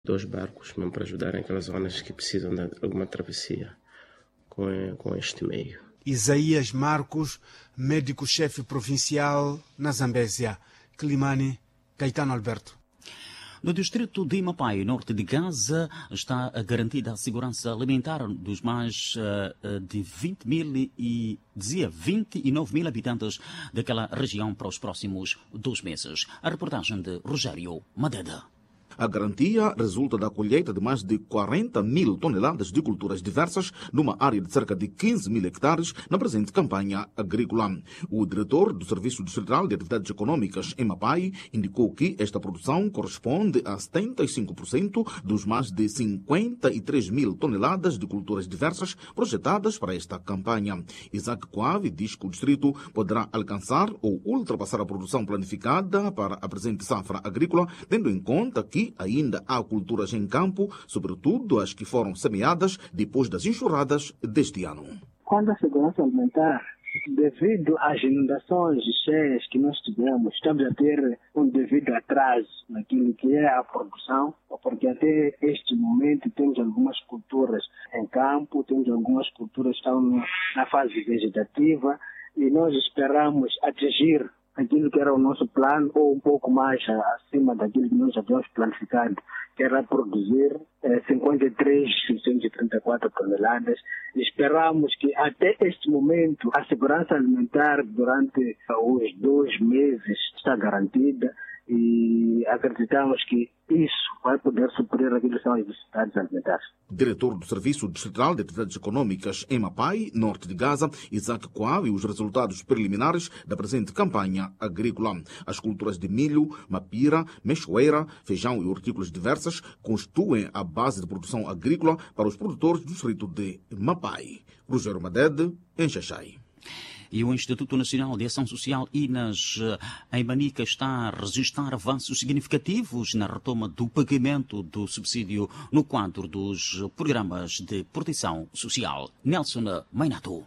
2 barcos mesmo para ajudarem aquelas zonas que precisam de alguma travessia com este meio. Isaías Marcos, médico-chefe provincial na Zambésia. Climane, Caetano Alberto. No distrito de Mapai, norte de Gaza, está garantida a segurança alimentar dos mais de 20 mil e dizia 29 mil habitantes daquela região para os próximos 2 meses. A reportagem de Rogério Madeda. A garantia resulta da colheita de mais de 40 mil toneladas de culturas diversas numa área de cerca de 15 mil hectares na presente campanha agrícola. O diretor do Serviço Distrital de Atividades Econômicas em Mapai indicou que esta produção corresponde a 75% dos mais de 53 mil toneladas de culturas diversas projetadas para esta campanha. Isaac Coave diz que o distrito poderá alcançar ou ultrapassar a produção planificada para a presente safra agrícola, tendo em conta que ainda há culturas em campo, sobretudo as que foram semeadas depois das enxurradas deste ano. Quanto à segurança alimentar, devido às inundações e cheias que nós tivemos, estamos a ter um devido atraso naquilo que é a produção, porque até este momento temos algumas culturas em campo, temos algumas culturas que estão na fase vegetativa e nós esperamos atingir aquilo que era o nosso plano, ou um pouco mais acima daquilo que nós havíamos planificado, que era produzir 53.634 toneladas. Esperamos que até este momento a segurança alimentar durante os 2 meses está garantida e acreditamos que isso vai poder suprir aquilo que são as necessidades alimentares. Diretor do Serviço Distrital de Atividades Econômicas em Mapai, norte de Gaza, Isaac Coave, os resultados preliminares da presente campanha agrícola. As culturas de milho, mapira, mexoeira, feijão e hortícolas diversas constituem a base de produção agrícola para os produtores do distrito de Mapai. Rogério Madede, em Xaxai. E o Instituto Nacional de Ação Social, INAS, em Manica, está a registrar avanços significativos na retoma do pagamento do subsídio no quadro dos programas de proteção social. Nelson Mainato.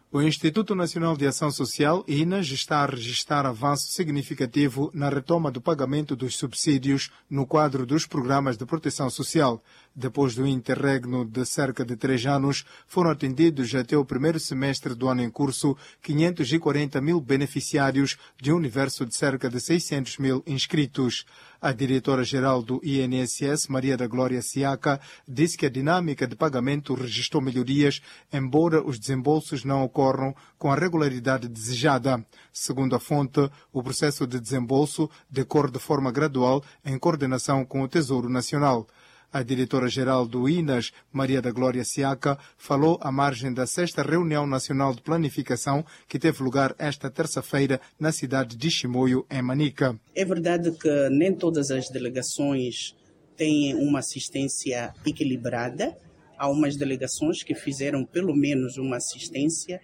O Instituto Nacional de Ação Social, INAS, está a registrar avanço significativo na retoma do pagamento dos subsídios no quadro dos programas de proteção social. Depois do interregno de cerca de 3 anos, foram atendidos até o primeiro semestre do ano em curso 540 mil beneficiários de um universo de cerca de 600 mil inscritos. A diretora-geral do INSS, Maria da Glória Siaca, disse que a dinâmica de pagamento registrou melhorias, embora os desembolsos não ocorram com a regularidade desejada. Segundo a fonte, o processo de desembolso decorre de forma gradual em coordenação com o Tesouro Nacional. A diretora-geral do INAS, Maria da Glória Siaca, falou à margem da 6ª Reunião Nacional de Planificação que teve lugar esta terça-feira na cidade de Chimoio, em Manica. É verdade que nem todas as delegações têm uma assistência equilibrada. Há umas delegações que fizeram pelo menos uma assistência,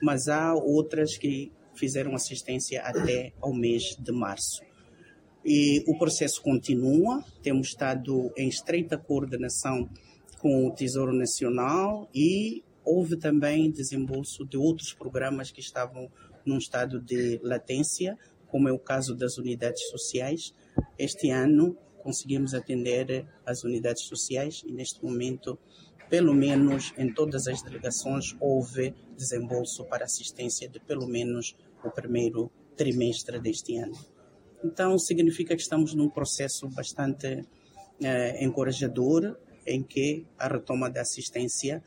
mas há outras que fizeram assistência até ao mês de março. E o processo continua, temos estado em estreita coordenação com o Tesouro Nacional e houve também desembolso de outros programas que estavam num estado de latência, como é o caso das unidades sociais. Este ano conseguimos atender as unidades sociais e neste momento, pelo menos em todas as delegações, houve desembolso para assistência de pelo menos o primeiro trimestre deste ano. Então, significa que estamos num processo bastante encorajador, em que a retoma da assistência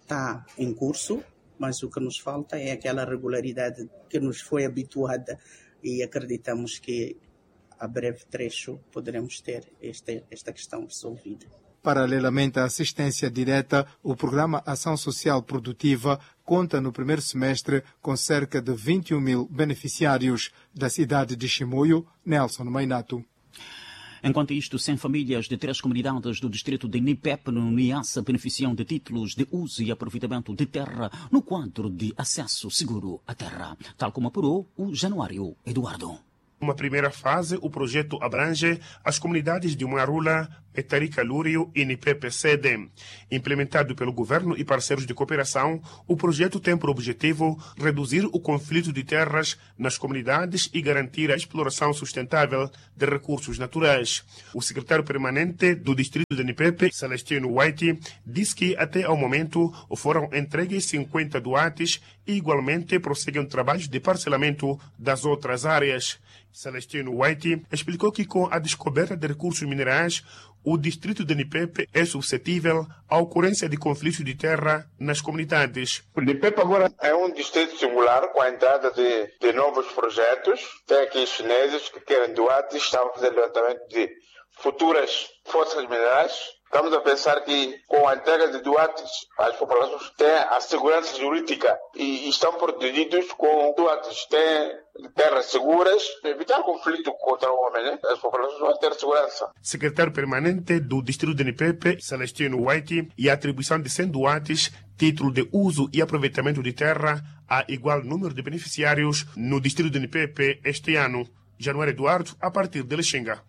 está em curso, mas o que nos falta é aquela regularidade que nos foi habituada e acreditamos que a breve trecho poderemos ter esta questão resolvida. Paralelamente à assistência direta, o programa Ação Social Produtiva conta no primeiro semestre com cerca de 21 mil beneficiários. Da cidade de Chimoio, Nelson Mainato. Enquanto isto, 100 famílias de 3 comunidades do distrito de Nipepe, no Niassa, beneficiam de títulos de uso e aproveitamento de terra no quadro de acesso seguro à terra, tal como apurou o Januário Eduardo. Uma primeira fase, o projeto abrange as comunidades de Muarula, Metarica Lúrio e Nipepe Sede. Implementado pelo governo e parceiros de cooperação, o projeto tem por objetivo reduzir o conflito de terras nas comunidades e garantir a exploração sustentável de recursos naturais. O secretário permanente do distrito de Nipepe, Celestino White, diz que até ao momento foram entregues 50 doates e igualmente prosseguem trabalhos de parcelamento das outras áreas. Celestino White explicou que com a descoberta de recursos minerais, o distrito de Nipepe é suscetível à ocorrência de conflitos de terra nas comunidades. O Nipepe agora é um distrito singular com a entrada de novos projetos. Tem aqui chineses que querem doates, estão fazendo levantamento de futuras forças minerais. Estamos a pensar que com a entrega de doates, as populações têm a segurança jurídica e estão protegidos com doates, têm terras seguras, evitar conflito contra o homem, né? As populações vão ter segurança. Secretário permanente do Distrito de Nipepe, Celestino White, e a atribuição de 100 doates, título de uso e aproveitamento de terra a igual número de beneficiários no Distrito de Nipepe este ano. Januário Eduardo, a partir de Lixinga.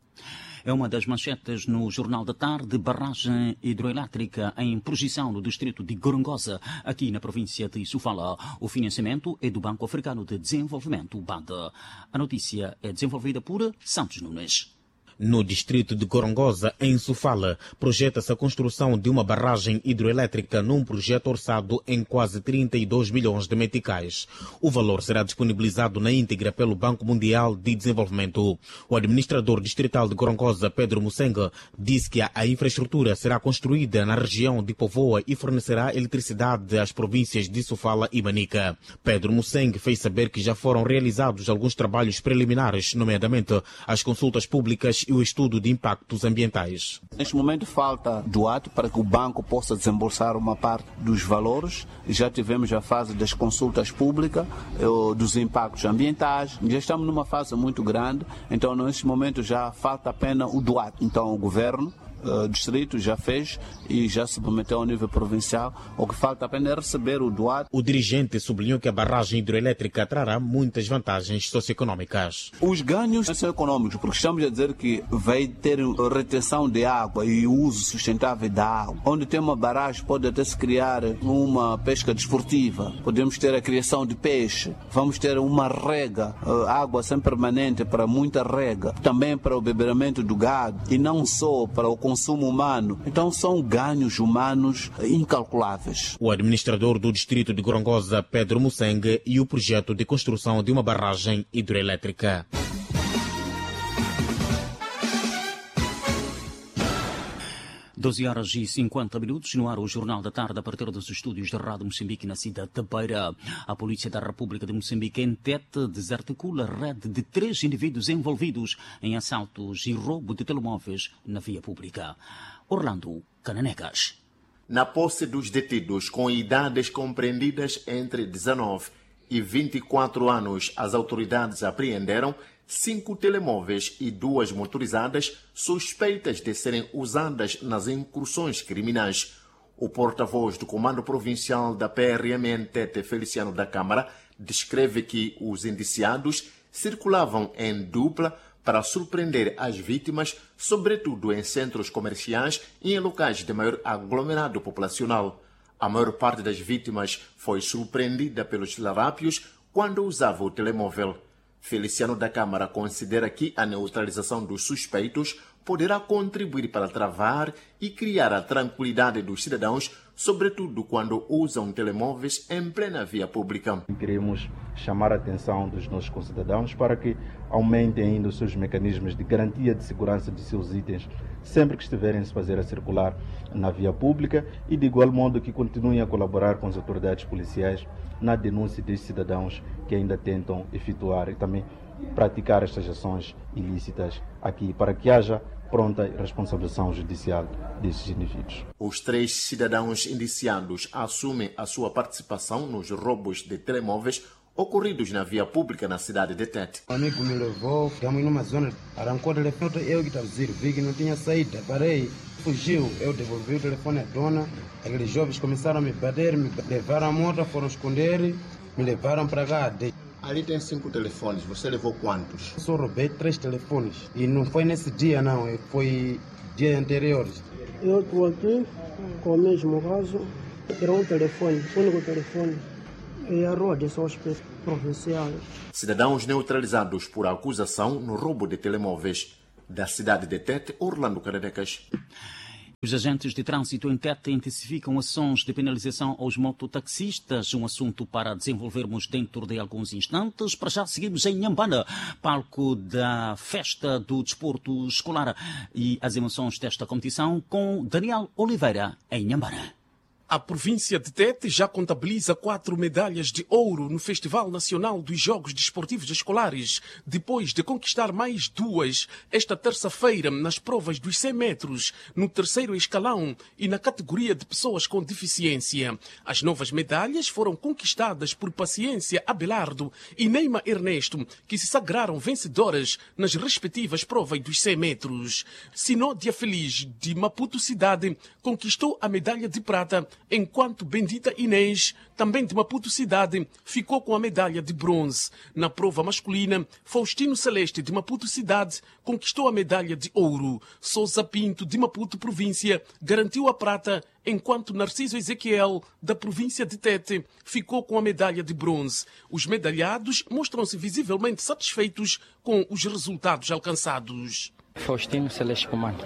É uma das manchetes no Jornal da Tarde. Barragem hidroelétrica em projeção no distrito de Gorongosa, aqui na província de Sofala. O financiamento é do Banco Africano de Desenvolvimento, BAD. A notícia é desenvolvida por Santos Nunes. No distrito de Gorongosa, em Sofala, projeta-se a construção de uma barragem hidroelétrica num projeto orçado em quase 32 milhões de meticais. O valor será disponibilizado na íntegra pelo Banco Mundial de Desenvolvimento. O administrador distrital de Gorongosa, Pedro Mussenga, disse que a infraestrutura será construída na região de Povoa e fornecerá eletricidade às províncias de Sofala e Manica. Pedro Mussenga fez saber que já foram realizados alguns trabalhos preliminares, nomeadamente as consultas públicas e o estudo de impactos ambientais. Neste momento falta doate para que o banco possa desembolsar uma parte dos valores. Já tivemos a fase das consultas públicas, dos impactos ambientais. Já estamos numa fase muito grande, então neste momento já falta apenas o doate. Então o governo distrito já fez e já submeteu ao nível provincial. O que falta apenas é receber o doate. O dirigente sublinhou que a barragem hidroelétrica trará muitas vantagens socioeconômicas. Os ganhos são econômicos, porque estamos a dizer que vai ter retenção de água e uso sustentável da água. Onde tem uma barragem pode até se criar uma pesca desportiva, podemos ter a criação de peixe, vamos ter uma rega, água sempre permanente para muita rega, também para o beberamento do gado e não só para o consumo humano. Então são ganhos humanos incalculáveis. O administrador do distrito de Gorongosa, Pedro Mussengue, e o projeto de construção de uma barragem hidroelétrica. 12h50, no ar o Jornal da Tarde, a partir dos estúdios da Rádio Moçambique na cidade de Beira. A Polícia da República de Moçambique, em Tete, desarticula a rede de 3 indivíduos envolvidos em assaltos e roubo de telemóveis na via pública. Orlando Cananecas. Na posse dos detidos com idades compreendidas entre 19 e 24 anos, as autoridades apreenderam 5 telemóveis e 2 motorizadas suspeitas de serem usadas nas incursões criminais. O porta-voz do Comando Provincial da PRM Tete, Feliciano da Câmara, descreve que os indiciados circulavam em dupla para surpreender as vítimas, sobretudo em centros comerciais e em locais de maior aglomerado populacional. A maior parte das vítimas foi surpreendida pelos larápios quando usava o telemóvel. Feliciano da Câmara considera que a neutralização dos suspeitos poderá contribuir para travar e criar a tranquilidade dos cidadãos, sobretudo quando usam telemóveis em plena via pública. Queremos chamar a atenção dos nossos concidadãos para que aumentem ainda os seus mecanismos de garantia de segurança de seus itens sempre que estiverem a se fazer a circular na via pública e, de igual modo, que continuem a colaborar com as autoridades policiais na denúncia destes cidadãos que ainda tentam efetuar e também praticar estas ações ilícitas aqui, para que haja pronta responsabilização judicial desses indivíduos. Os 3 cidadãos indiciados assumem a sua participação nos roubos de telemóveis ocorridos na via pública na cidade de Tete. Um amigo me levou, ficamos numa zona, arrancou o telefone, eu que estava dizendo, vi que não tinha saída, parei, fugiu, eu devolvi o telefone à dona, aqueles jovens começaram a me bater, me levaram a moto, foram esconder, me levaram para cá. Ali tem 5 telefones, você levou quantos? Só roubei 3 telefones e não foi nesse dia não, foi dia anteriores. Eu estou aqui com o mesmo caso, era um telefone, único telefone, e a rua de São Provincial. Cidadãos neutralizados por acusação no roubo de telemóveis. Da cidade de Tete, Orlando Carenecas. Os agentes de trânsito em Tete intensificam ações de penalização aos mototaxistas, um assunto para desenvolvermos dentro de alguns instantes. Para já seguimos em Inhambane, palco da festa do desporto escolar e as emoções desta competição com Daniel Oliveira em Inhambane. A província de Tete já contabiliza 4 medalhas de ouro no Festival Nacional dos Jogos Desportivos Escolares, depois de conquistar mais 2 esta terça-feira nas provas dos 100 metros, no terceiro escalão e na categoria de pessoas com deficiência. As novas medalhas foram conquistadas por Paciência Abelardo e Neima Ernesto, que se sagraram vencedoras nas respectivas provas dos 100 metros. Sinódia Feliz, de Maputo Cidade, conquistou a medalha de prata, enquanto Bendita Inês, também de Maputo Cidade, ficou com a medalha de bronze. Na prova masculina, Faustino Celeste, de Maputo Cidade, conquistou a medalha de ouro. Sousa Pinto, de Maputo Província, garantiu a prata, enquanto Narciso Ezequiel, da província de Tete, ficou com a medalha de bronze. Os medalhados mostram-se visivelmente satisfeitos com os resultados alcançados. Faustino Celeste Comando.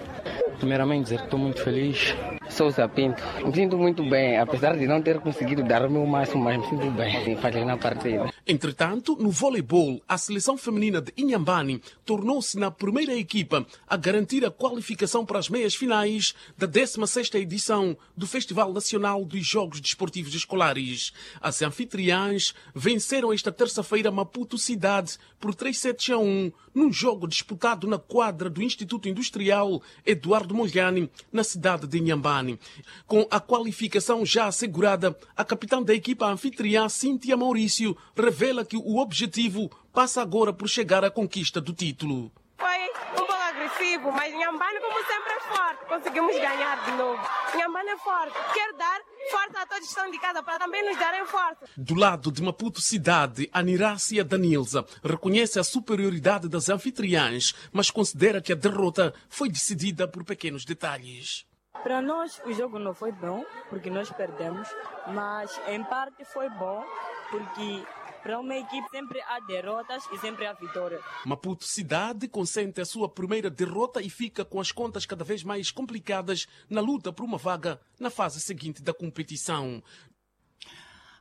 Primeiramente dizer que estou muito feliz. Sousa Pinto. Me sinto muito bem, apesar de não ter conseguido dar o meu máximo, mas me sinto bem fazendo a partida. Entretanto, no voleibol, a seleção feminina de Inhambane tornou-se na primeira equipa a garantir a qualificação para as meias-finais da 16ª edição do Festival Nacional dos Jogos Desportivos Escolares. As anfitriãs venceram esta terça-feira Maputo Cidade por 3-1, num jogo disputado na quadra do Instituto Industrial Eduardo Mondlane, na cidade de Inhambane. Com a qualificação já assegurada, a capitã da equipa anfitriã, Cíntia Maurício, revela que o objetivo passa agora por chegar à conquista do título. Foi um pouco agressivo, mas Inhambane, como sempre, é forte. Conseguimos ganhar de novo. Inhambane é forte. Quero dar força a todos que estão de casa para também nos darem força. Do lado de Maputo Cidade, a Nirácia Danilza reconhece a superioridade das anfitriãs, mas considera que a derrota foi decidida por pequenos detalhes. Para nós o jogo não foi bom, porque nós perdemos, mas em parte foi bom, porque para uma equipe sempre há derrotas e sempre há vitória. Maputo Cidade consente a sua primeira derrota e fica com as contas cada vez mais complicadas na luta por uma vaga na fase seguinte da competição.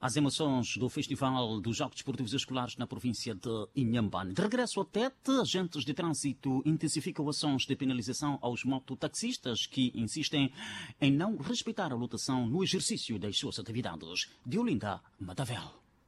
As emoções do Festival dos Jogos Desportivos Escolares na província de Inhambane. De regresso a Tete, agentes de trânsito intensificam ações de penalização aos mototaxistas que insistem em não respeitar a lotação no exercício das suas atividades. De Olinda Matavel.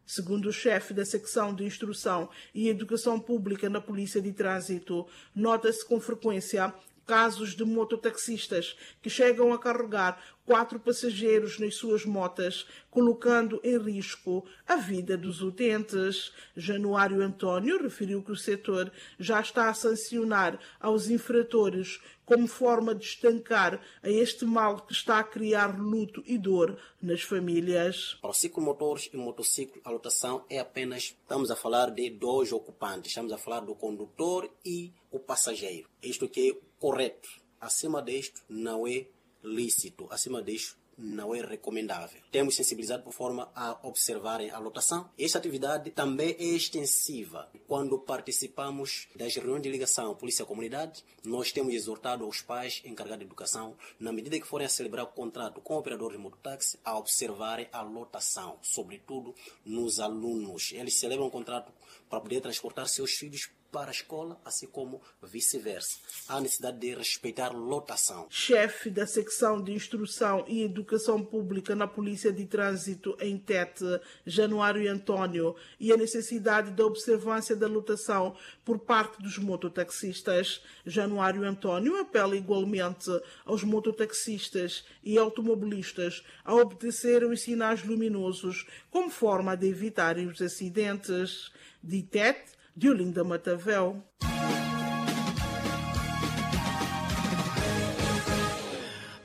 Segundo o chefe da secção de Instrução e Educação Pública na Polícia de Trânsito, nota-se com frequência casos de mototaxistas que chegam a carregar 4 passageiros nas suas motas, colocando em risco a vida dos utentes. Januário António referiu que o setor já está a sancionar aos infratores como forma de estancar a este mal que está a criar luto e dor nas famílias. Para ciclomotores e motociclos, a lotação é apenas, estamos a falar de 2 ocupantes, estamos a falar do condutor e o passageiro. Isto que é correto. Acima disto não é lícito, acima disto não é recomendável. Temos sensibilizado por forma a observarem a lotação. Esta atividade também é extensiva. Quando participamos das reuniões de ligação polícia-comunidade, nós temos exortado aos pais encarregados de educação, na medida que forem a celebrar o contrato com o operador de mototáxi, a observarem a lotação, sobretudo nos alunos. Eles celebram o contrato para poder transportar seus filhos para a escola, assim como vice-versa. Há necessidade de respeitar lotação. Chefe da secção de Instrução e Educação Pública na Polícia de Trânsito em Tete, Januário António, e a necessidade da observância da lotação por parte dos mototaxistas. Januário António apela igualmente aos mototaxistas e automobilistas a obedecerem os sinais luminosos como forma de evitarem os acidentes. De Tete, de Olinda Matavel.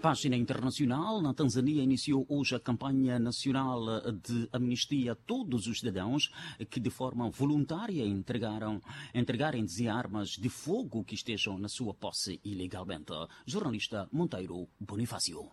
Página internacional, na Tanzânia iniciou hoje a campanha nacional de amnistia a todos os cidadãos que de forma voluntária entregarem armas de fogo que estejam na sua posse ilegalmente. Jornalista Monteiro Bonifácio.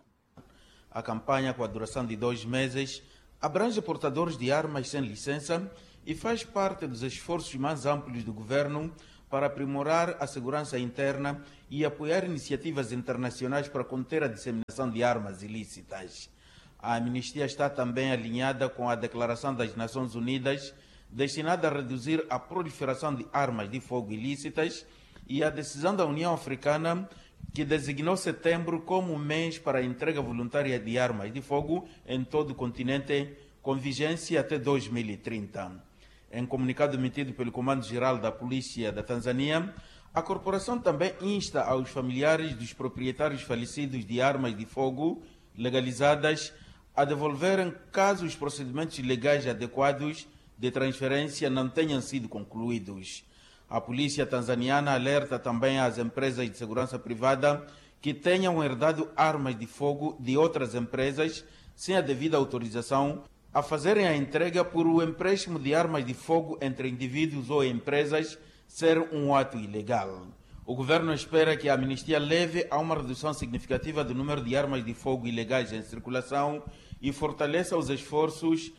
A campanha, com a duração de 2 meses, abrange portadores de armas sem licença e faz parte dos esforços mais amplos do governo para aprimorar a segurança interna e apoiar iniciativas internacionais para conter a disseminação de armas ilícitas. A amnistia está também alinhada com a Declaração das Nações Unidas, destinada a reduzir a proliferação de armas de fogo ilícitas, e a decisão da União Africana, que designou setembro como mês para a entrega voluntária de armas de fogo em todo o continente, com vigência até 2030. Em comunicado emitido pelo Comando-Geral da Polícia da Tanzânia, a corporação também insta aos familiares dos proprietários falecidos de armas de fogo legalizadas a devolverem caso os procedimentos legais adequados de transferência não tenham sido concluídos. A polícia tanzaniana alerta também às empresas de segurança privada que tenham herdado armas de fogo de outras empresas sem a devida autorização a fazerem a entrega por o empréstimo de armas de fogo entre indivíduos ou empresas ser um ato ilegal. O governo espera que a amnistia leve a uma redução significativa do número de armas de fogo ilegais em circulação e fortaleça os esforços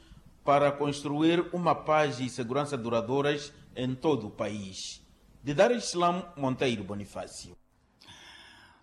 para construir uma paz e segurança duradouras em todo o país. De Dar es Salaam, Monteiro Bonifácio.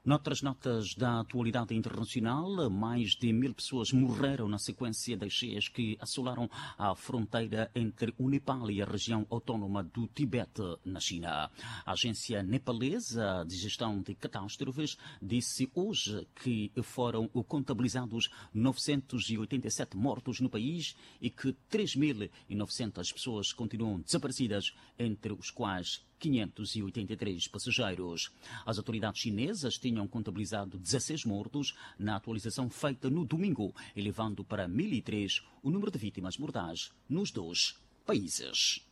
Noutras notas da atualidade internacional, mais de 1.000 pessoas morreram na sequência das cheias que assolaram a fronteira entre o Nepal e a região autónoma do Tibete, na China. A agência nepalesa de gestão de catástrofes disse hoje que foram contabilizados 987 mortos no país e que 3.900 pessoas continuam desaparecidas, entre os quais 583 passageiros. As autoridades chinesas tinham contabilizado 16 mortos na atualização feita no domingo, elevando para 1.003 o número de vítimas mortais nos dois países.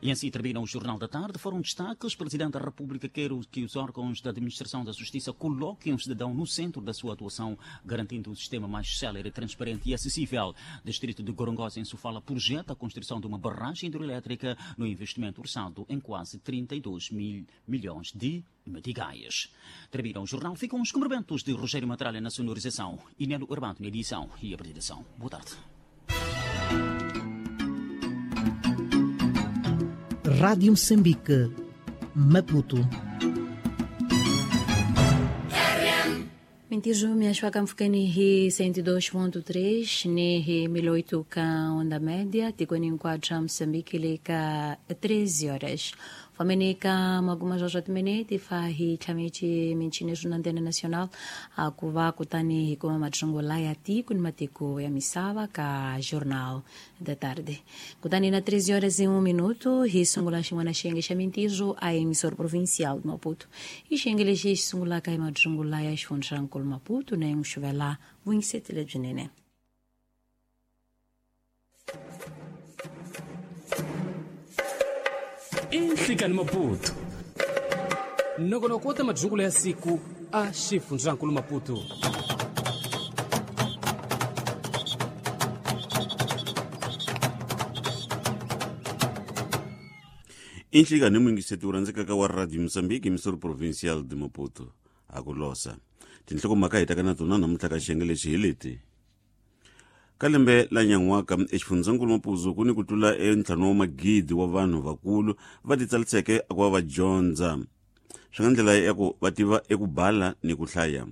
E assim termina o Jornal da Tarde. Foram destaques. Presidente da República quer que os órgãos da Administração da Justiça coloquem o cidadão no centro da sua atuação, garantindo um sistema mais célere, transparente e acessível. Distrito de Gorongosa, em Sofala, projeta a construção de uma barragem hidroelétrica no investimento orçado em quase 32 mil milhões de meticais. Termina o jornal. Ficam os cumprimentos de Rogério Matralha na sonorização e Nelo Urbano na edição e apresentação. Boa tarde. Rádio Moçambique, Maputo. 21 miashwaka mfukeni hi 102.3 ni hi 1008 ka onda média tikweni hinkwabyo Moçambique leka 13 horas. Famenika maguma jojo timinete fa hi tlhameci michini swa antena nacional a ku va kutani hi kuma matsongo ya tiko ni matiko ya misava ka Jornal da Tarde. Kutani na 13 horas e 1 minuto hi sungula xin'wana xiyenge xa mintirho a emissora provincial de Maputo. I xiyenge lexi xi sungulaka hi matsongo ya xifundzankulu Maputo na Nxuvela vuyingisetile byinene. Inhlikani Maputo nongonoko wa madzungula ya siku a xifundzankulu Maputo. Inhlikani muyingiseti wu rhandzekaka wa Radio Moçambique emissora provincial de Maputo a ku losa tinhlokomhaka hi taka na tona namuntlha ka xiyenge lexi hi leti. Ka lembe la nyan'waka exifundzankulu Maputo ku ni ku tlula entlhanu wa magidi wa vanhu vakulu va titsaliseke ku va va dyondza swi nga ndlela ya ku va tiva eku bala ni ku hlaya.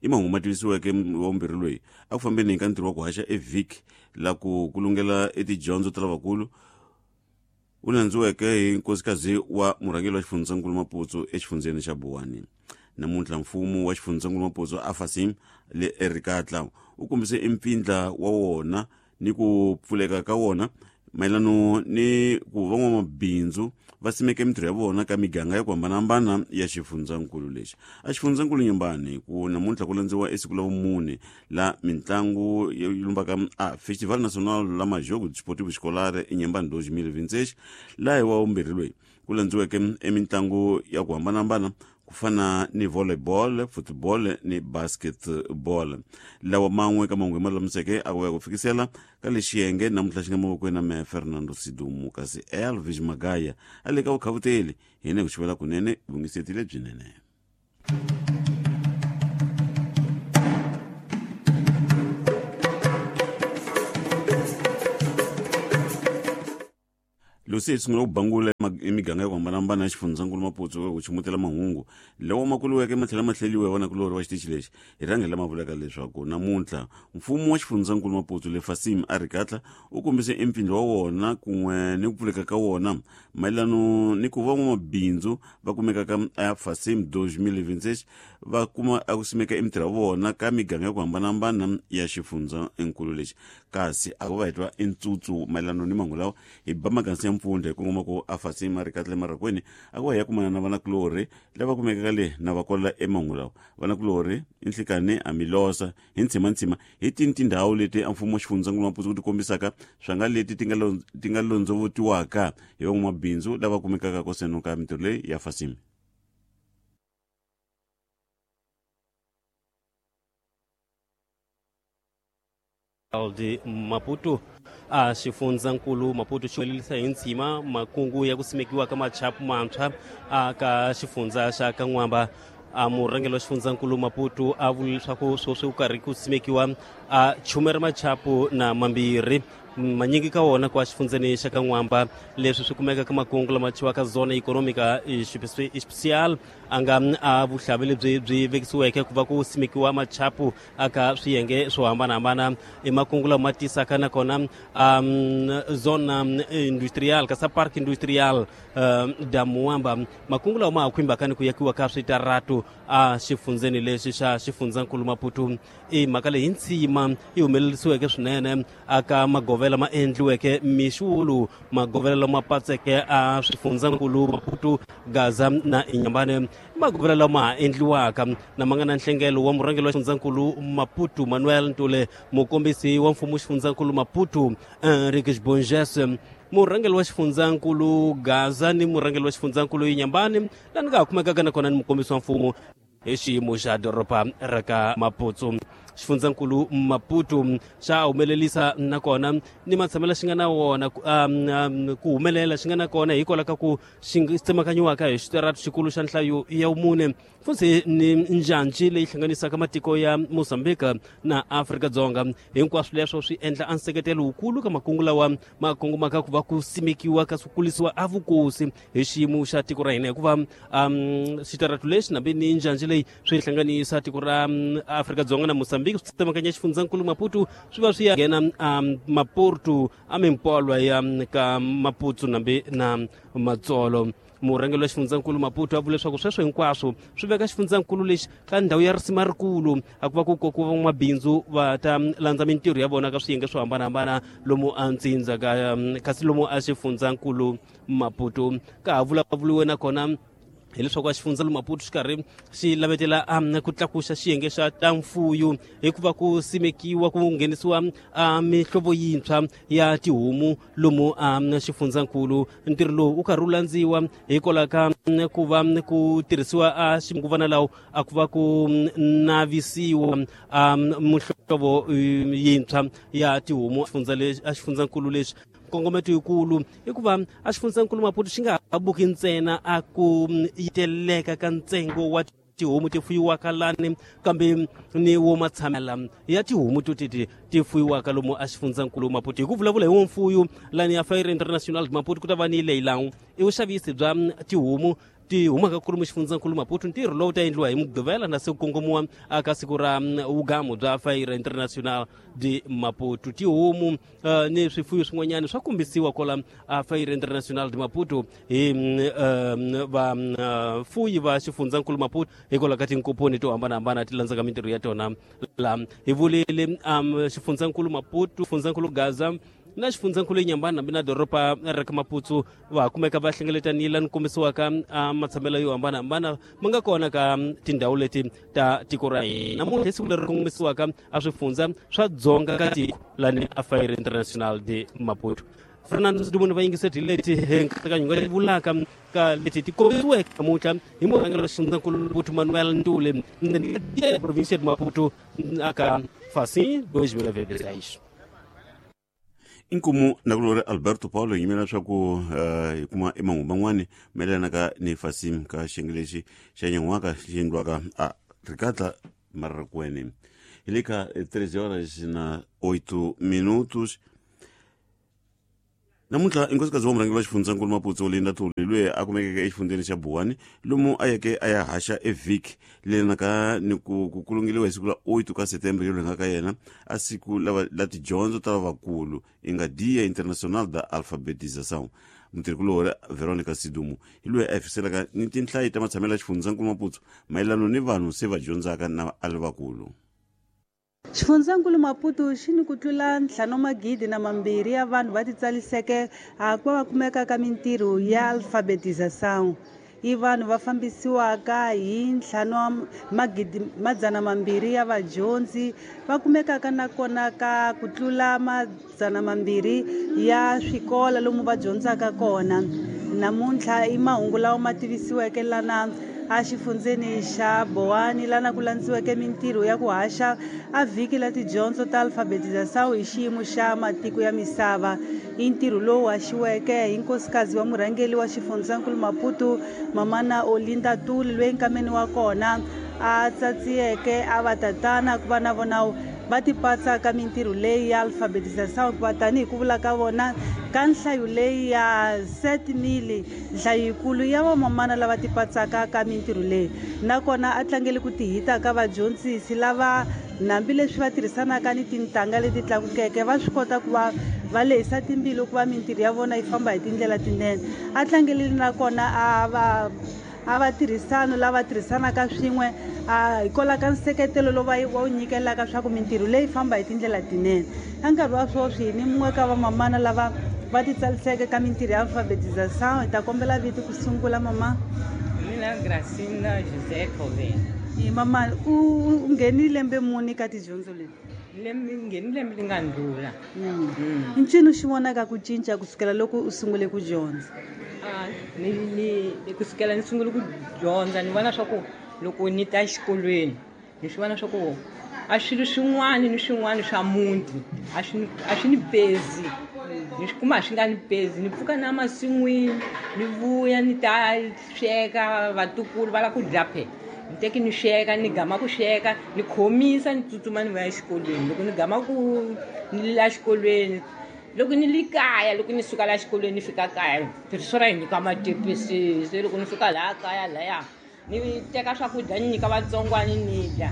I mahungu ma tivisiweke wa vumbirhi loyi a ku fambeni ka ntirho wa ku haxa evhiki la ku kulungela etidyondzo ta lavakulu u landziweke hi nkosikazi wa murhangeri wa xifundzankulu Maputo exifundzeni xa Buwani. Namuntlha mfumo wa xifundzankulu Maputo afasim le erikatla u kombise empfindla wa wona ni ku pfuleka ka wona Mayelano ni ku van'wamabindzu va simeke mintirho ya vona ka miganga ya ku hambanahambana ya xifundzankulu lexi. A xifundzankulu Nyambani ku namuntlha ku landziwa esiku la vumune la mitlangu yo lumbaka a Festival Nacional la Majogo Desportivo Escolar eNyambani 2026, laha hi wa vumbirhi loyi ku landziweke emitlangu ya ku hambanahambana ku fana ni volleyball, football ni basketball. Lawa man'we ka mahungu hi ma lulamiseke a ku ya ku fikisela ka lexi xiyenge namuntlha xi nga mavokweni na meya Fernando Sidumo, kasi Elvis Magaya a le ka vukhavuteli hina ku xivela kunene vungiseti lebyinene. Lucy hi sungula ku bangula emiganga ya ku hambanahambana ya xifundzankulu Maputo ku chumutela mahungu lawa ma kuliweke ma tlhela ma hleliwa hi vanakulorhi wa xitichi lexi hi rhange lama vulaka leswaku namuntlha mfumo wa xifundzankulu Maputo le Fasim Arikatla u kombise empfindlo wa wona kun'we ni ku pfuleka ka wona mayelano ni ku van'wamabindzu va kumekaka a Fasim 2026 va kuma a ku simeka emitirho ya vona ka miganga ya ku hambanahambana ya xifundzankulu lexi. Kasi a ku va hi twa entsutsu mayelano ni mahungu lawa hi ba magansi ya mpfundla hi kongoma ku a Fasim Arikatla emarakweni a ku va hi ya kumana na vanakulorhi lava kumekaka le na va kola emahungu lawa. Vanakulorhi i nhlikani a milosa hi ntshimantsima hi tini tindhawu leti a mfumo wa xifundzankulu Maputo ku ti kombisaka swanga leti ti nga londzovotiwaka hi van'wamabindzu lava kumekaka koseno ka mintirho leyi ya Fasim. De Maputo a xifundzankulu Maputo xi humelerisa hi ntshima makungu ya ku simekiwa ka machapu mantshwa a ka xifundza xa ka N'wamba. A murhangeri wa xifundzankulu Maputo a vula leswaku sweswi ku karhi ku simekiwa a chume ra machapu na mambirhi manyingi ka wona kwa xifundzeni xa ka N'wamba. Leswi swi kumeka ka makungu lama thyiwaka zona economica especial a nga a vuhlavi lebyi byi vekisiweke ku va ku simekiwa machapu aka swiyenge swo hambanahambana. I makungu lama tisaka nakona zona industrial kasi park industrial da Muamba. Makungu lawa ma ha khumbaka ni ku yakiwa ka switaratu a xifundzeni lexi xa xifundzankulu Maputo. I mhaka leyi ntsima yi humelerisiweke swinene aka magovela ma endliweke mixulu, magovela lama patseke a swifundzankulu Maputo, Gaza na Inhambane, magovela lama ha endliwaka na ma nga na nhlengelo wa murhangeri wa xifundzankulu Maputo Manuel Ntule, mukombisi wa mfumo xifundzankulu Maputo Henriques Bonges, murhangeri wa xifundzankulu Gaza ni murhangeri wa xifundzankulu Inhambane, laha ni nga ha kumekaka nakona ni mukombisi wa mfumo hi xiyimo xa doroba ra ka Maputo. Xifundzankulu Maputo xa humelerisa nakona ni matshamelo xi nga na wona ku humelela xi nga na kona hikwalaho ka ku xi tsemakanyiwaka hi xitaratu xikulu xa nhlayo ya vumune futhi ni njhanji leyi hlanganisaka matiko ya Mozambique na Afrika-Dzonga. Hinkwaswo leswo swi endla a nseketelo wukulu ka makungu lawa ma kongomaka ku va ku simekiwa ka swi kulisiwa a vukosi hi xiyimo xa tiko ra hina, hikuva xitaratu lexi nambe ni njhanji leyi swi hlanganisa tiko ra Afrika-Dzonga na Mozambique swi tsemakanya xifundzankulu Maputo swi va swi ya nghena Maputo a mimpolwa ya ka Maputo nambe na Matsolo. Murhangeri wa xifundzankulu Maputo a vula leswaku sweswo hinkwaswo swi veka xifundzankulu lexi ka ndhawu ya risima rikulu a ku va ku kokiwa van'wamabindzu va ta landza mintirho ya vona ka swiyenge swo hambanahambana lomu a ntsindza ka kasi lomu a xifundzankulu Maputo. Ka ha vulavuriwe nakona hileswaku a xifundza Maputo xi karhi xi lavetela ku tlakusa xiyenge xa ta mfuyo hikuva ku simekiwa ku nghenisiwa mihlovo yintshwa ya tihomu lomu a xifundzankulu. Ntirho lowu wu karhi wu landziwa hikwalaho ka ku va ku tirhisiwa a xinguvana lawo a ku va ku navisiwa muhlovo yintshwa ya tihomu a xifundzankulu lexi. Nkongometo yikulu i ku va a xifundzankulu Maputo xi nga ha buki ntsena a ku yiteleka ka ntsengo wa tihomu ti fuyiwaka lani kambe ni wo matshamela ya tihomu to teti ti fuyiwaka lomu a xifundzankulu Maputo. Hi ku vulavula hi wo mfuyo lani ya Feira International Maputo ku ta va ni leyilawu i vuxavisi bya tihomu ti humaka kulumu xifundzankulu Maputo. Ntirho lowu ta endliwa hi Mugqivela na se ku kongomiwa aka siku ra vugamu bya Feira International de Maputo. Tihomu ni swifuyo swin'wanyana swa kombisiwa kwala a Feira International de Maputo hi vafuyi va xifundzankulu Maputo hikwalaho ka tinkomponi to hambanahambana ti landzaka mintirho ya tona. La hi vulile xifundzankulu Maputo, xifundzankulu Gaza Na xifundzankulu Inhambane hambi na doroba ra ka Maputo va kumeka va hlengeletanile ni kombisiwaka matshamelo yo hambanahambana ma nga kona ka tindhawu leti ta tiko ra hina. Namuntlha i siku leri kongomisiwaka a swifundza swa dzonga ka tiko lani a Feira Internacional de Maputo. Fernando Dumuni va yingiseti leti nkatsakanyo nga vulaka ka leti ti kombisiweke namuntlha hi murhangeri wa xifundzankulu Maputo Manuel Ntuli provinsia de Maputo aka Facim 2026. Inkomu nakulori Alberto Paulo yimela leswaku hi kuma emahungu man'wani mayelanaka ni Facim ka xiyenge lexi xa nyan'waka xi endliwaka a rikatla Mararakuene. Hi le ka 13 horas na 8 minutos. Namuntlha inkosikazi wa murhangeri wa xifundzankulu Maputo Olinda Ntuli loyi a kumekeke exifundzeni xa Buwani lomu a yeke a ya haxa evhiki lelanaka ni ku kulungeliwa hi siku la 8 ka September yo lenga ka yena a siku la tidyondzo ta lavakulu i nga Dia Internacional da Alfabetização. Mutirhikulori Veronica Sidumo hi loyi a hefiselaka ni tinhlayi ta matshamelo ya xifundzankulu Maputo mayelano ni vanhu se va dyondzaka na a lavakulu. Xifundzankulu Maputo xi ni ku tlula 5,200 ya vanhu va titsaliseke ku va va kumeka ka mintirho ya alfabetização. I vanhu va fambisiwaka hi 200 ya vadyondzi va kumekaka nakona ka ku tlula 200 ya swikolo lomu va dyondzaka kona. Namuntlha i mahungu lawa ma tivisiweke lana a xifundzeni xa Boani lana ku landziweke mintirho ya ku haxa a vhiki la tidyondzo ta alfabetização hi xiyimo xa matiko ya misava. I ntirho lowu haxiweke hi nkosikazi wa murhangeri wa xifundzankulu Maputo Mamana Olinda Ntuli loyi nkameni wa kona a tsatsiyeke a va tatana ku va na vona va tipatsa ka mintirho leyi ya alfabetização hikuva tanihi ku vula ka vona ka nhlayo leyi ya 7,000 nhlayo yikulu ya vamamana lava tipatsaka ka mintirho leyi. Nakona a tlangele ku tihita ka vadyondzisi lava hambileswi va tirhisanaka ni tintangha leti tlakukeke va swi kota ku va va lehisa timbilu ku va mintirho ya vona yi famba hi tindlela tinene. A tlangelile nakona a va tirhisano lava tirhisanaka swin'we hikwalaho ka nseketelo lowu va wu nyikelaka swa ku mintirho leyi famba hi tindlela tinene. Ka nkarhi wa sweswi ni mun'we ka vamamana lava va titsaliseke ka mintirho ya alfabetização. Hi ta kombela vito ku sungula mama. Mina Gracina José Covena. Mama u nghenile lembe muni ka tidyondzo leti? Lembe nghenile lembe li nga ndlula. Ncini xi vonaka ku cinca kusukela loko u sungule ku dyondza? Ni kusukela ni sungule ku dyondza ni vona swa ku loko ni ta exikolweni ni swi vona swa ku a swilo swin'wana ni swin'wana swa muti a swi ni pezi. Ni swi kuma a swi nga ni pezi. Ni pfuka na masin'wini ni vuya ni ta sweka vatukulu va lava ku dya phe. Ni teki ni sweka ni gama ku sweka ni khomisa ni tsutsuma ni vuya exikolweni. Loko ni gama ku ni la xikolweni loko ni li kaya loko ni suka la xikolweni ni fika kaya tirhiso ra hi nyika matepisi se loko ni fika laha kaya laya ni teka swakudya ni nyika vatsongwani ni dya.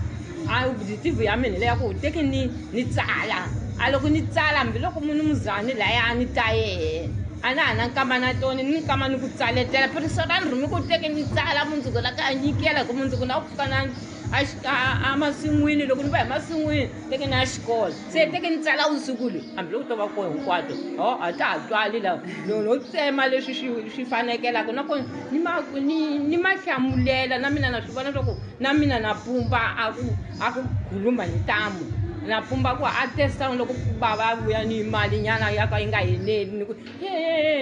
A objective ya mina leya ku teki ni tsala. A loko ni tsala hambiloko munhu muzani laya ni ta yehe a na ha na nkama na toni ni nkama ni ku tsaletela tirhiso ra ni rhumi ku teki ni tsala mundzuku la ka nyikela ku mundzuku na ku pfuka na a masin'wini loko ni va hi masin'wini teki na xikolo se teki ni tsala vusiku leyi hambiloko to va koho hinkwato a ta ha twali lawa no tsema leswi swi fanekelaka nakona ni ma hlamulela na mina na swi vona swa ku na mina na pumba a ku khuluma hi ntamu na pumba ku a testa loko bava vuya ni mali nyana ya ka yi nga heneli ni ku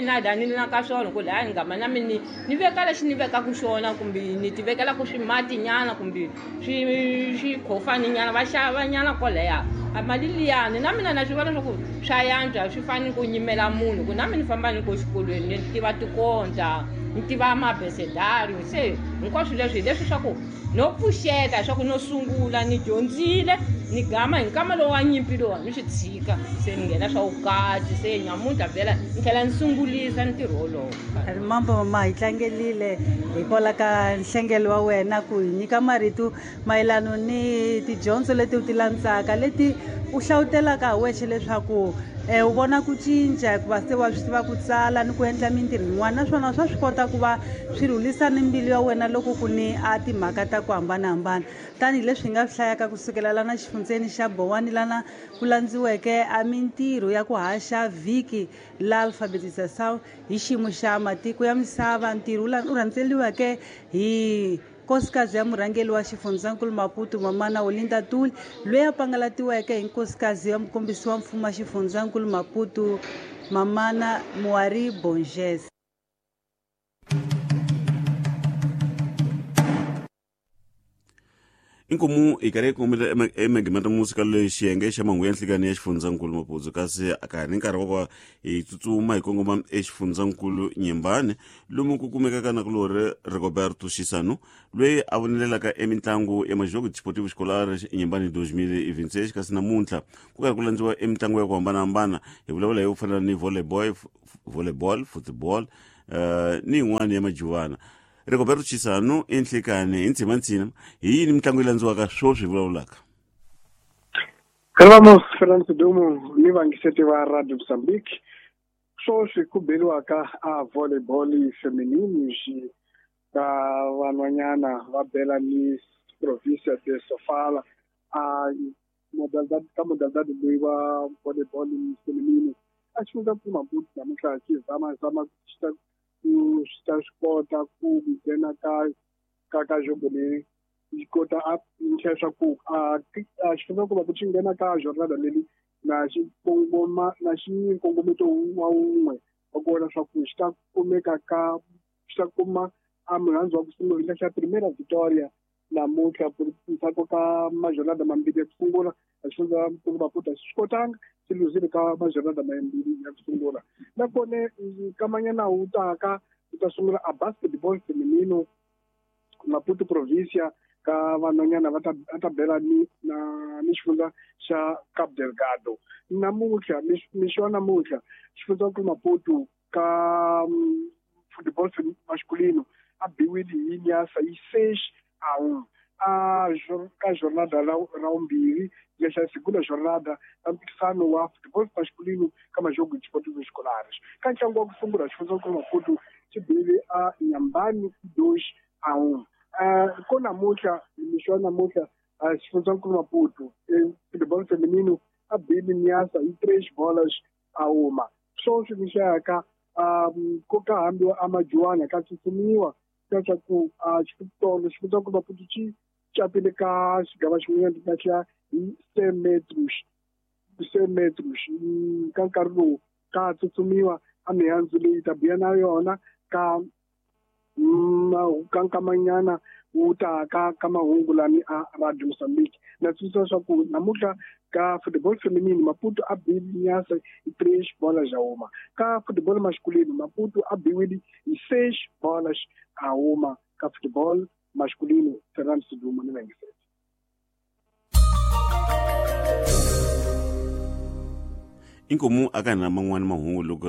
na dani na ka swona ku laya ni ngama na mina ni veka lexi ni vekaku xona kumbe ni ti vekelaku swimati nyana kumbe swikhofani nyana va xava nyana kwalaya a mali liyani na mina na swi vona swa ku swa yantswa swi fanele ku nyimela munhu ku na mina ni famba ni ko xikolweni ni tiva tikonta ni tiva mabesedario se hinkwaswo leswi hi leswi swa ku no pfuxeta swa ku no sungula ni dyondzile ni gama hi nkama lowu wa nyimpi lowa ni swi tshika se ni nghena swa vukati se nyamuntlha vhela ni tlhela ni sungulisa ntirho wolowo. Mambo mama hi tlangelile hikwalaho ka nhlengelo wa wena ku hi nyika marito mayelano ni tidyondzo leti u ti landzaka leti u hlawutelaka hi wexe leswaku u vona ku cinca hikuva se wa swi tiva ku tsala ni ku endla mintirho yin'wana, naswona swa swi kota ku va swi rhulisa ni mbilu ya wena loko ku ni a timhaka ta ku hambanahambana. Tanihileswi hi nga swi hlayaka kusukela lana xifundzeni xa Bowani lana ku landziweke a mintirho ya ku haxa vhiki la alfabetização hi xiyimo xa matiko ya misava, ntirho wu rhandzeliweke hi nkosikazi ya murhangeri wa xifundzankulu Maputo Mamana Olinda Tuli, loyi a pangalatiweke hi nkosikazi ya mukombisi wa mfumo wa xifundzankulu Maputo Mamana Muari Bonges. Inkomu hi karhi hi kongomile emagimeta musika leyi xiyenge xa mahungu ya nhlikani ya xifundzankulu Maputo, kasi a ka ha ri nkarhi wa ku va hi tsutsuma hi kongoma exifundzankulu Nyembani lomu ku kumekaka nakulorhi Rigoberto Xisano loyi a vonelelaka emitlangu ya Majogo Desportivo Escolar Nyembani 2026. Kasi namuntlha ku karhi ku landziwa emitlangu ya ku hambanahambana, hi vulavula hi ku fana ni volleyball, football ni yin'wana ya majuvana. Rigoberto Chisano i nhlikani hi ntshimantsina, hi yini mitlangu yi landziwaka sweswi hi vulavulaka? Vamos Fernando Dumo ni vangiseti va Radio Mozambique. Sweswi ku beriwaka a volleyball feminine xi ka vanhwanyana va bela ni provincia de Sofala a modalidade ka modalidade leyi wa volleyball feminine a xifundza Maputo namuntlha xi zama zama xi ta ku swi ta swi kota ku nghena ka jogo leyi yi kota a tlhela swa ku a xifundza Maputo xi nghena ka jornada leyi na xi kongoma na xi nkongometo wa wun'we wa ku vona swa ku xi ta kumeka ka xi ta kuma a murhandzu wa ku sungula xa primera victoria namuntlha ndzhaku ka majornada mambirhi ya ku sungula. Xifundza Maputo xi kotanga, xi luzile ka majornada mambirhi ya ku sungula. Nakona kamanyana wu taka ku ta sungula a basketball feminino Maputo provincia ka vanhwanyana va ta bela ni na ni xifundza xa Cabo Delgado namuntlha. Mixo wa namuntlha xifundza Maputo ka football masculino a biwile hi Nyasa hi 6-1 a ka jornada ra vumbirhi lexa segunda jornada ya mpikisano wa football masculino ka Majogo Desportivo Escolares. Ka ntlangu wa ku sungula xifundza Maputo xi bile a Nyambani 2-1. Ko namuntlha mixo wa namuntlha xifundza Maputo football feminino a bile Nyasa hi 3-1. Sweswi mixaka ko ka hambiwa a majuwana ka tsutshumiwa leswaku xitolo xifundza Maputo xi capile ka xigava xin'wana xa hi 100 metros ka nkarhi lowu ka tsutsumiwa a mihandzu leyi ta biya na yona ka ka nkamanyana wu ta ka mahungu lani a Radio Mozambique. Na tsundzuxa leswaku namuntlha ka football feminine Maputo a bile Nyasa hi 3-1. Ka football masculino Maputo a biwile hi 6-1 ka football masculino. Fernando Sidumo ni vangiseti. Inkomu a ka na man'wani mahungu loko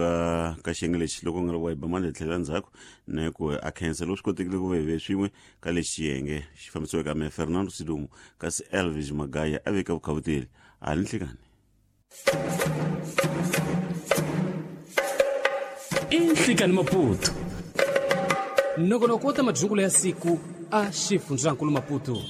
ka xiyenge lexi loko nga ri wa hi ba mandla hi tlhela ndzhaku na ku a khensa loko swi kotekile ku va hi ve swin'we ka lexi xiyenge xi fambisiweke ka me Fernando Sidumo, kasi Elvis Magaya a veka vukhavuteli a ni nhlikani. I nhlikani Maputo nongonoko wa ta madyungulo ya siku a xifundzankulu Maputo.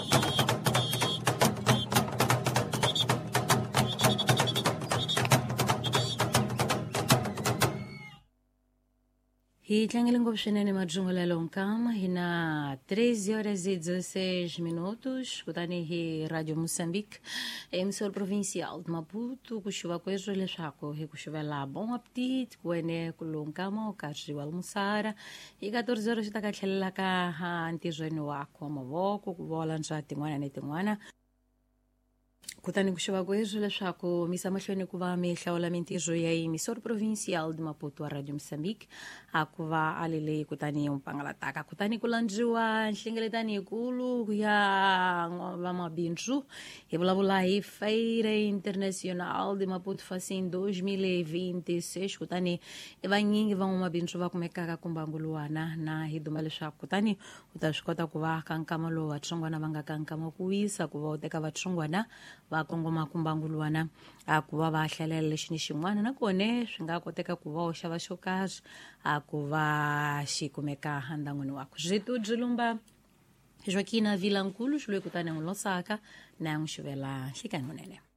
Hi tlangele ngopfu swinene madzungulelo nkama hi na 3:16 minutos kutani hi Radio Moçambique emissora provincial de Maputo ku xuva kweswo leswaku hi ku xuvela bon appetit ku wene ku lonkama u karhi wa almoçar hi 14 horas xi ta ka tlhelela ka ntirhweni wakho wa mavoko ku vola ndza tin'wana ni tin'wana. Kutani ku xuva kweswo leswaku misa mahlweni ku va mi hlawula mintirho ya emissora provincial de Maputo wa Radio Mozambique a ku va a lele kutani yi pangalataka. Kutani ku landziwa nhlengeletano yikulu ya vamabindzu hi vulavula hi Feira Internacional de Maputo Facim 2026. Kutani i vanyingi van'wamabindzu va kumekaka kumbangu luwana na hi duma leswaku kutani u ta swi kota ku va ka nkama lowu vatsongwana va nga ka nkama ku wisa ku va u teka vatsongwana Va kongoma kumbangulwana a ku va va hlalela lexi ni xin'wana, nakona swi nga koteka ku va u xava xo karhi a ku va xi kumeka ndangwini wakho. Zwitudzi lumba Joaquina Vilankulu xi loyi kutani n'wi losaka na n'wi xivela nhlikani unene.